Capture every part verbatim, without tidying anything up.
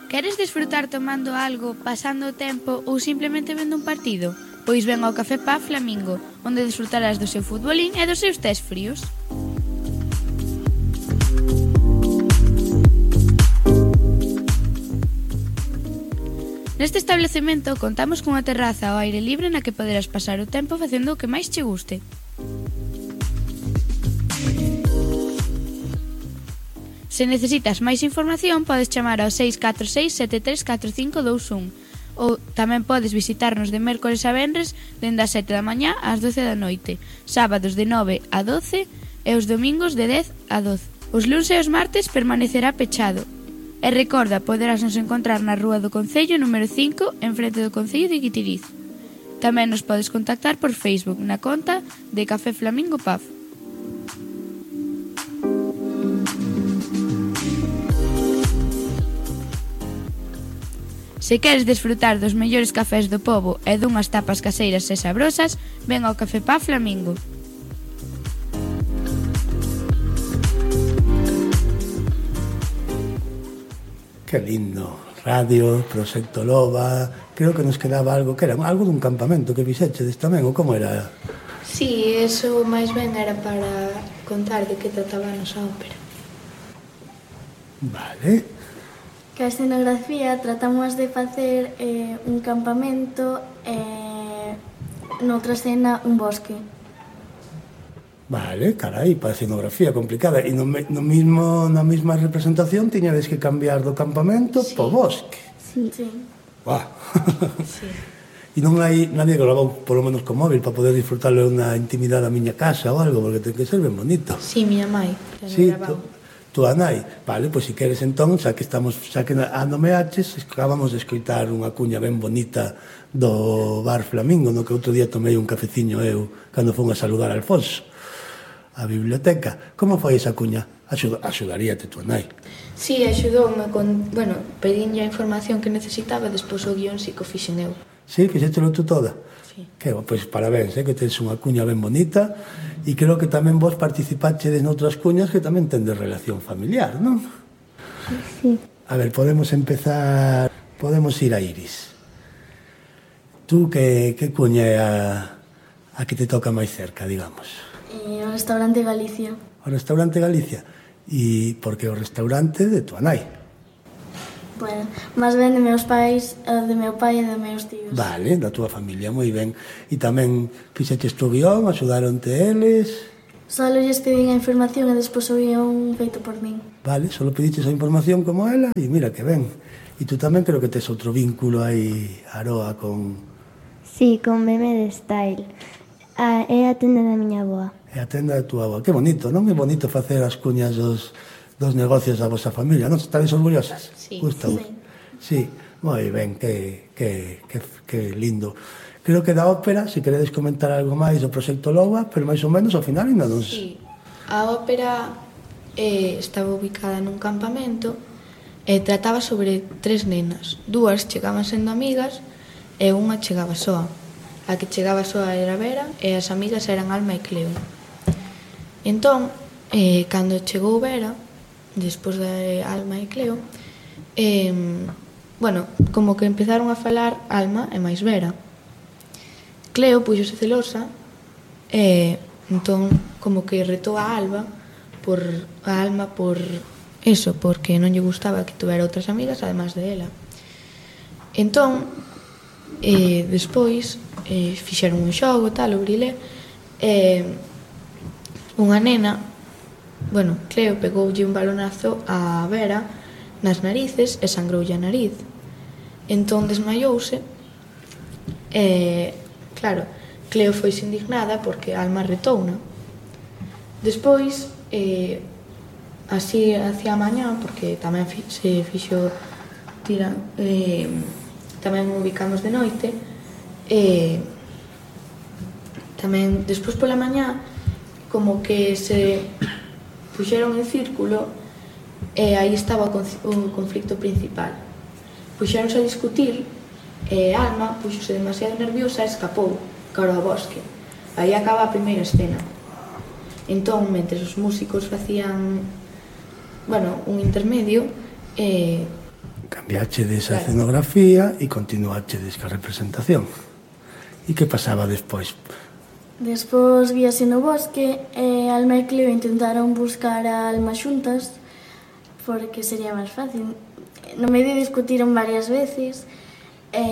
Queres desfrutar tomando algo, pasando o tempo ou simplemente vendo un partido? Pois ven ao Café Pub Flamingo, onde desfrutarás do seu futbolín e dos seus tés fríos. Neste establecemento contamos cunha terraza ao aire libre na que poderás pasar o tempo facendo o que máis che guste. Se necesitas máis información, podes chamar ao seis catro seis sete tres catro cinco dous un ou tamén podes visitarnos de mércores a venres dende as sete da mañá ás doce da noite, sábados de nove a doce e os domingos de dez a doce. Os luns e os martes permanecerá pechado. E recorda, poderás nos encontrar na Rúa do Concello número cinco, en frente do Concello de Guitiriz. Tamén nos podes contactar por Facebook na conta de Café Flamingo Pub. Se queres desfrutar dos mellores cafés do pobo e dunhas tapas caseiras e sabrosas, ven ao Café Pub Flamingo. Que lindo. Radio, Proxecto Loba. Creo que nos quedaba algo, que era algo dun campamento que fixechedes tamén, ou como era? Sí, eso máis ben era para contar de que trataba a nosa ópera. Vale. Que a escenografía tratamos de facer eh, un campamento e eh, noutra escena un bosque. Vale, carai, para a escenografía complicada. E no, no mismo, na mesma representación tiñades que cambiar do campamento sí. po bosque. Sí. sí. Buah. Sí. E non hai nadie que lo haga polo menos con móvil para poder disfrutarlo na intimidade da miña casa ou algo, porque ten que ser ben bonito. Sí, miña mai. Sí, tú a nai. Vale, pois se queres entón, xa que estamos, xa que a nomeaches, acabamos de escoitar unha cuña ben bonita do Bar Flamingo, no que outro día tomei un cafeciño eu cando fun a saludar a Alfonso a biblioteca. Como foi esa cuña? Axud, axudaríate tú a nai? Sí, axudoume con, bueno, pedinlle a información que necesitaba, despois o guión si que o fixen eu. Sí, fixételo tú toda? Sí. Que, pois parabéns, eh, que tens unha cuña ben bonita. E creo que tamén vos participachedes noutras cuñas que tamén tendes relación familiar, non? Sí. A ver, podemos empezar... Podemos ir a Iris. Tú, que, que cuña é a, a que te toca máis cerca, digamos? Eh, o restaurante Galicia. O restaurante Galicia? E porque o restaurante de tua nai? Bueno, máis ben de meus pais, de meu pai e de meus tíos. Vale, da túa familia, moi ben. E tamén fixeches tu guión, axudaronte eles? Solo lles pedín a información e despois o guión feito por min. Vale, solo pediches a información como ela e mira que ben. E tú tamén creo que tes outro vínculo aí, Aroa, con... Sí, con Meme de Style. Ah, é a tenda da miña avoa. É a tenda da túa avoa. Que bonito, non? É bonito facer as cuñas dos... dos negocios da vosa familia, non? Estades orgullosas? Sí. Gustavo? Sí. Sí, moi ben, que, que, que, que lindo. Creo que da ópera, se queredes comentar algo máis do Proxecto Loba, pero máis ou menos ao final ainda non... Sí, a ópera eh, estaba ubicada nun campamento e trataba sobre tres nenas. Dúas chegaban sendo amigas e unha chegaba soa. A que chegaba soa era Vera e as amigas eran Alma e Cleo. Entón, eh, cando chegou Vera, despois de Alma e Cleo, eh, bueno, como que empezaron a falar Alma e máis Vera. Cleo puxose celosa e entón como que retou a Alba por a Alma por eso, porque non lle gustaba que tuvera outras amigas además de ela. Entón, eh, despois eh, fixeron un xogo, tal, o brilé, e eh, unha nena, bueno, Cleo pegoulle un balonazo a Vera nas narices e sangroulle a nariz. Entón desmaiouse e, claro, Cleo foise indignada porque Alma retouna. Despois, eh, así hacia a mañá, porque tamén fi, se fixo tira, eh, tamén ubicamos de noite, e tamén despois pola mañá como que se puxeron en círculo e aí estaba o conflicto principal. Puxeronse a discutir e Alma puxose demasiado nerviosa e escapou cara ao bosque. Aí acaba a primeira escena. Entón, mentre os músicos facían, bueno, un intermedio, eh, cambiachedes a Claro. escenografía e continuachedes ca representación. E que pasaba despois? Despois víase no bosque e Alma e Cleo intentaron buscar a Alma xuntas porque sería máis fácil. No medio discutiron varias veces e,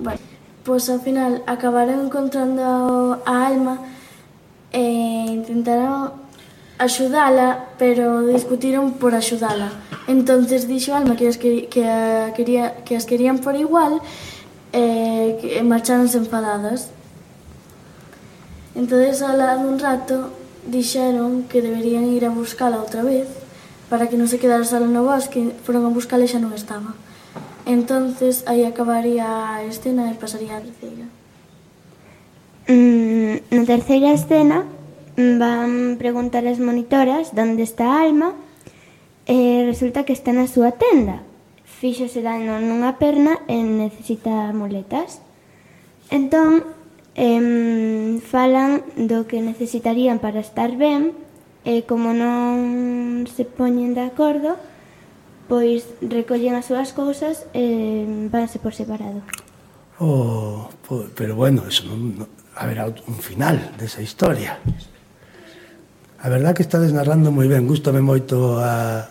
bueno, pois ao final acabaron encontrando a Alma e intentaron axudala, pero discutiron por axudala. Entonces dixo Alma que as, que, que, a, quería, que as querían por igual e que marcharonse enfadadas. Entonces, ao lado dun rato, dixeron que deberían ir a buscala outra vez para que non se quedara sola no bosque. Foron a buscala e xa non estaba. Entonces, aí acabaría a escena e pasaría a terceira. Mm, na terceira escena van preguntar as monitoras onde está a Alma e resulta que está na súa tenda. Fíxose dano nunha perna e necesita muletas. Entón, em, falan do que necesitarían para estar ben e como non se poñen de acordo, pois recollen as súas cousas e vanse por separado. Oh, po- pero bueno, eso non, non, haberá un final desa historia. A verdad que estades narrando moi ben, gústame moito a,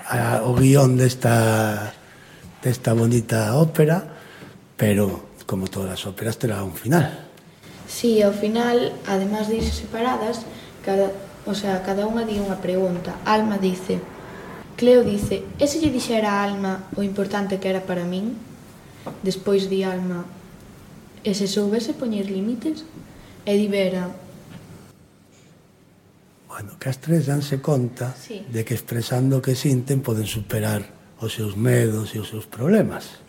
a, o guión desta, desta bonita ópera, pero como todas as óperas terá un final. Sí, ao final, además de irse separadas, cada, o sea, cada unha di unha pregunta. Alma dice, Cleo dice, e se lle dixera a Alma o importante que era para min? Despois di Alma, e se soubese poñer límites? E di Vera, Bueno, que as tres danse conta Sí. de que expresando o que sinten poden superar os seus medos e os seus problemas.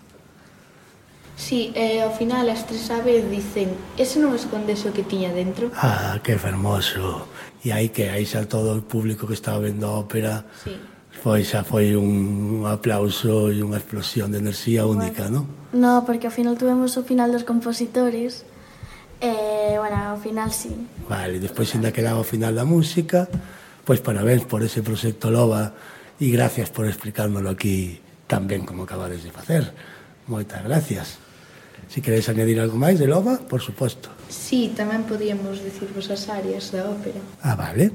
sí, e ao final as tres a vez dicen, ese non escondese o que tiña dentro? Ah, que fermoso. E aí que aí xa todo o público que estaba vendo a ópera Sí. foi xa foi un aplauso e unha explosión de enerxía única, non? No, porque ao final tuvemos o final dos compositores e, bueno, ao final sí. Vale, despois ainda quedaba o final da música. Pois parabéns por ese proxecto Loba e gracias por explicármelo aquí tan ben como acabades de facer. Moitas gracias. Si queréis añadir algo máis de Loba, por suposto. Sí, tamén podíamos dicirvos as áreas da ópera. Ah, vale.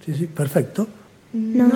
Sí, sí, perfecto. Non